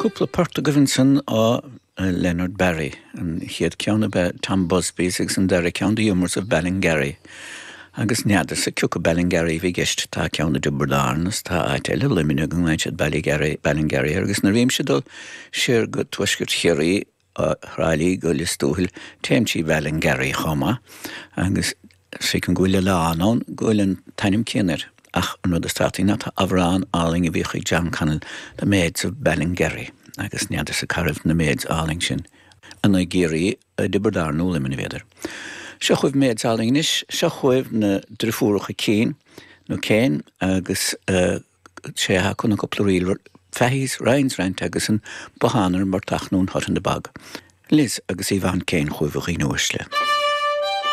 Cúpla port agaibh ansan ó Leonard Barry. An chéad ceann ab ea Tom Busby's agus an dara ceann The Humours of Ballingarry. Agus n'fheadarsa cioca Ballingarry a bhí i gceist. Tá ceann i dTiobraid Árann is tá áit eile i Luimneach go nglaonn siad Ballygarry, Ballingarry air agus nuair a bhímse ag dul siar go tuaisceart Chiarraí ó Thrá Lí go Lios Tuathail téim trí Bhallingarry chomh maith agus feicim go bhfuil oileán ann go bhfuil an t-ainm céanna air. Ach an rud is tábhachtaí ná tá amhrán álainn a bhíodh ag John Connell, The Maids of Ballingarry, agus n'fheadarsa cá raibh na maids álainn sin, an i gCiarraí, i dTiobraid Árann nó Luimneach b'fhéidir. Seo chugaibh maids álainn anois, seo chugaibh na driofúracha Keane, nó Kane, agus sé atá acu ná cúpla ríl, Fahy's, Ryan's Rant agus an Bothán ar an bPortach nó an Hut in the Bog. Liz agus Yvonne Kane chugaibh a dhaoine uaisle.